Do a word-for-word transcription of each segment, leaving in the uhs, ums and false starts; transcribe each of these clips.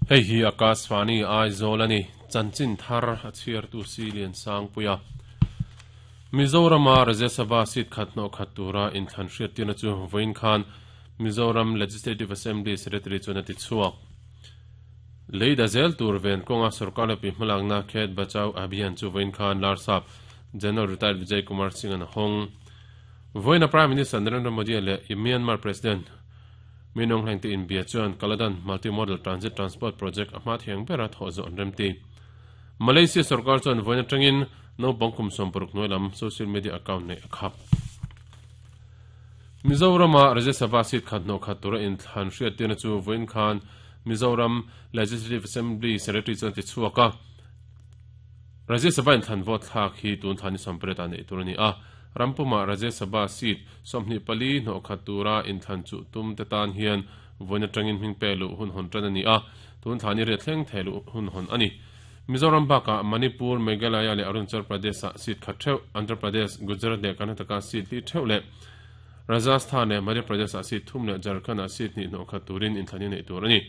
Hei hi Akashvani Aizawl ani chanchin thar a chhiar tu si lian sang puia Mizorama Rajya Sabha seat khat no khat tura in thlan hriat tina chu voin khan Mizoram Legislative Assembly Secretary chuna ti chuak leida zel tur ven konga sarkar pi hmalakna Khet Bachao Abhiyan chu voin khan Larsap General Retired Vijay Kumar Singh an hong voina Prime Minister Narendra Modi le Myanmar President Min Aung Hlaing te in bia chuan Kaladan Multimodal Transit Transport Project ahma thiang bera tho zo an remti Malaysia sarkar chuan voina tangin no bangkum somparuk noilam social media account nei akhap Mizorama Rajya Sabha seat khat no khat tura in thlan hriat tina chu voin khan Mizoram Legislative Assembly Secretary chuan ti chuaka Rajya Sabha in thlan vote thlak hi tun thani sampret ani turani a rampuma Rajya Sabha seat somni pali no khat tura in thlan chu tum te tan hian voina tangin hming pelu hun hon tan ani a tun thani re thleng thelu hun hon ani Mizoram baka Manipur Meghalaya le Arunachal Pradesh seat khat theu Andhra Pradesh Gujarat le Karnataka seat li theu le Rajasthan le Madhya Pradesh seat thum le Jharkhand seat ni no khat turin in thlani nei tur ani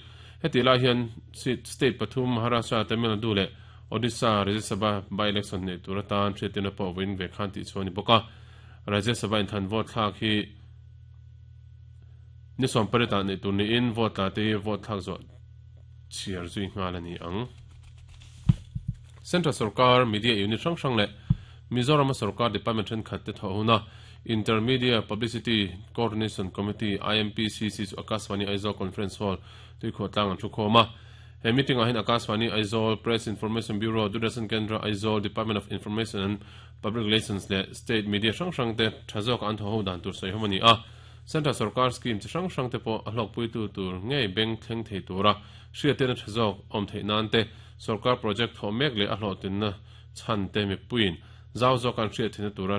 heti la hian seat state pathum Maharashtra Tamil Nadu le Odisha Rajya Sabha by election nei tur atan hriatina pawh win ve khan ti chuani boka Rajya Sabha in than vote thlak hi ni som pareta nei tur ni in vote la te vote thlak zo chiar zui ngal ani ang Central Sarkar Media Unit hrang hrang le Mizoram Sarkar Department then khat te thona Intermedia Publicity Coordination Committee I M P C C chu Akashvani Aizawl Conference Hall tui kho tlang an thu khoma he meeting a hin Akashvani Aizawl Press Information Bureau Doordarshan Kendra Aizawl Department of Information and Public Relations le State Media hrang hrang te thazok an tho ho dan tur soi homani a Central Sarkar scheme chi hrang hrang te po a hlok pui tu tur ngei beng thleng thei tura hriat te na thazok om thei nan te Sarkar project tho mek le a hlo tin na chan te mi puin zau zo kan hriat thina tura